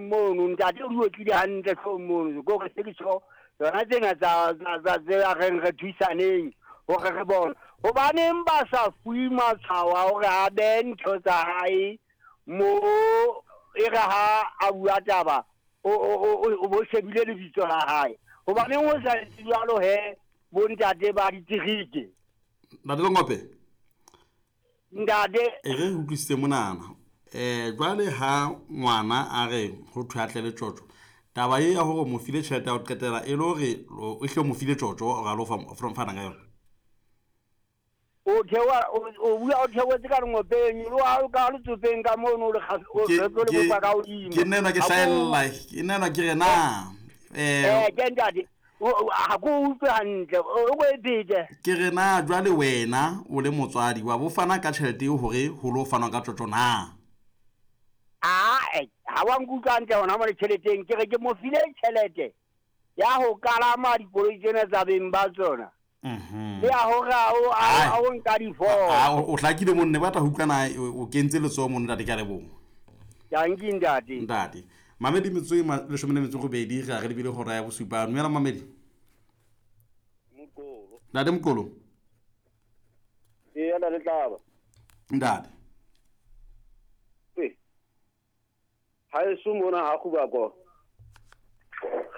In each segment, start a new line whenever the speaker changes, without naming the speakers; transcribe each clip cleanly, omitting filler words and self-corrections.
hloohong mono, ntate o di otlile hantle hloohong mono. Ke hore se ke tjho tsona tsena tsa tsa tse a reng re thusaneng hore re bone. Hobaneng ba sa fuwe matshwao a hore a behe ntho tsa hae mo e re ha a bua taba o o o bo shebile lebitso la hae. Hobaneng ho sa etse jwalo he bontate ba diterike?
Ntate Lengope.
Ntate.
E re utlwisise monana. Jwale ha ngwana a re ho thwe a tle le tjotjo, taba e ya hore mo file tjhelete ya ho qetela e le hore o hle o mo file tjotjo o ra lo fana ka yona.
O theoha o bua o theohetse ka lengopeng lo ha ka letsopeng ka mono le o
Ke
tlo le
ke
bopa ka hodimo.
ke nna ke
Ha ko
hlahella ke nna ke re na
ke ntate ha ko utlwe hantle o ko e phete.
Ke re na jwale wena o le motswadi wa bo fana ka tjhelete eo hore ho lo fanwa ka tjotjo na?
Ae, ha wa nkutlwa hantle hona mole tjheleteng. Ke re ke mo file tjhelete ya ho kalama dikoloi tsena tsa beng ba tsona. Le ya hore
Ai.
a o nka difomo.
O hlakile monne ba tla ho utlwa na o kentse letsoho mono ntate, ke a leboha.
Dankie ntate.
Ntate. Mamedi metsotso e 18 re a re lebile hora ya bosupa. Dumela Mamedi.
Mokolo.
Ntate Mokolo.
Ee, ntate Tlaba.
Ntate.
Ee. Haeso mona ha Kgubako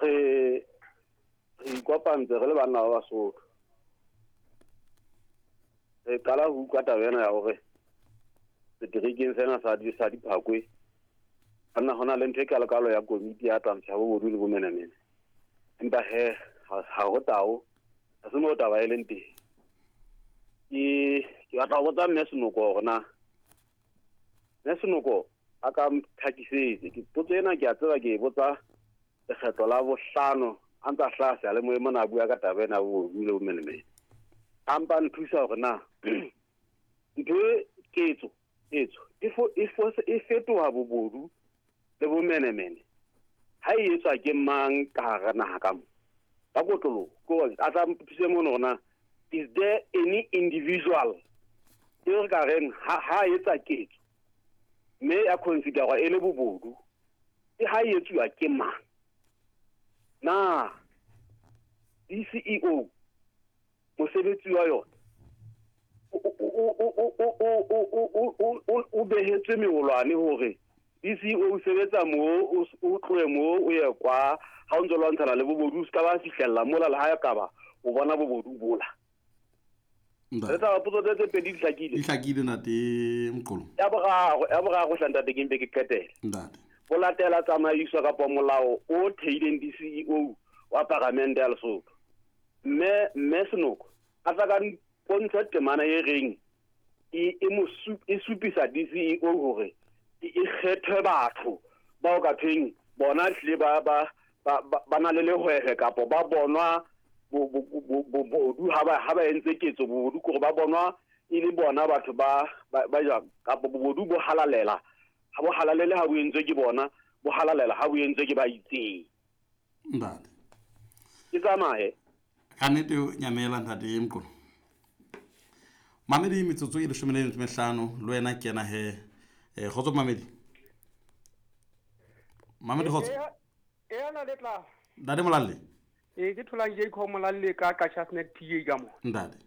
re ikopantse re le banna ba Basotho. Re qala ho utlwa taba ena ya hore seterekeng sena sa Diphakwe banna hona le ntho e kalokalo ya komiti ya twantsho ya bobodu le bomenemene. Empa he ha ho tao, ha se moo taba e leng teng. Ke batla ho botsa Mme Senoko hore na Mme Senoko a ka ntlhakisetse. Ke potso ena ke a tseba ke e botsa lekgetlo la bohlano a ntsa hlaha seyalemoyeng mona a bua ka taba ena ya bobodu le bomenemene. A mpa nthusa hore na ntho e ketso ketso e fetoha bobodu le bomenemene ha e etswa ke mang ka hara naha ka mo? Ka kotloloho, ke hore a tla nthuse mono hore na is there any individual e re ka reng ha etsa ketso mme ya considerwa e le bobodu, ke ha e etsuwa ke mang? Na DCEO mosebetsi wa yona o behetswe meolwane hore DCEO o sebetsa moo, o tlohe moo o ye kwa ha o ntso lwantshana le bobodu, o ska ba fihlella mola le ha e ka ba o bona bobodu bola.
Ntate.
Re tla potso tse pedi di hlakile.
Di hlakile ntate Mqolo.
Ya boraro hla ntate ke mpe ke qetele.
Ntate.
Ho latela tsamaiso kapa molao o theileng DCEO wa Paramente ya Lesotho. Mme Senoko a tla ka mpontsha temana e reng e supisa DCEO hore e kgethwe batho bao ka thweng bona hlile ba na le lehwehe kapa ba bonwa bobodu ha ba entse ketso bobodu kore ba bonwa e le bona batho ba jwang kapa bobodu bo halalela ha bo halalele ha bo entswe ke bona, bo halalela ha bo entswe ke ba itseng.
Ntate.
Ke tsamaye.
Ka nnete o nyamela ntate Mqolo. Mamedi metsotso e 15 le wena kena he. Kgotso Mamedi. Mamedi kgotso.
E na le tla.
Ntate Molalle.
E ke tholang Jacob Molalle ka Qacha's Nek PA ka mo.
Ntate.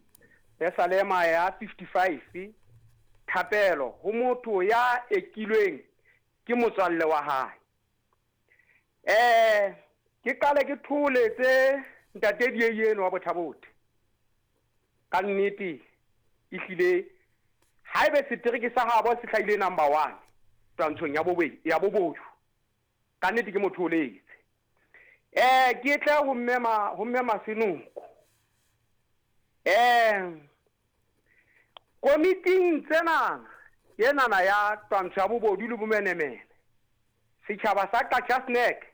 Pesalema ya 55 thapelo ho motho ya ekilweng ke motswalle wa hae. Ke qale ke tholetse ntate Dieye eno wa Bothabothe. Ka nnete ehlile haebe setereke sa habo se hlahile number 1 twantshong ya bobodu. Ka nnete ke motho o letse. Ke tle ho mme Masenoko. Komiting tsena enana ya twantsho ya bobodu le bomenemene, setjhaba sa Qacha's Nek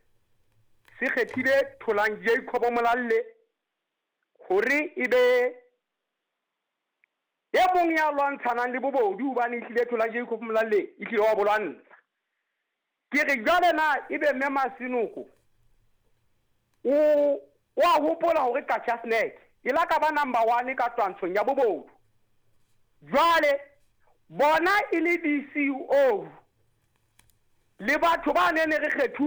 se kgethile Tholang Jacob Molalle hore e be e mong ya lwantshanang le bobodu, hobane ehlile Tholang Jacob Molalle e hlile wa bo lwantsha. Ke re jwale na ebe mme Masenoko o a hopola hore Qacha's Nek e la ka ba number 1 ka twantshong ya bobodu. Jwale bona e le DCEO le batho ba ne re kgethuwe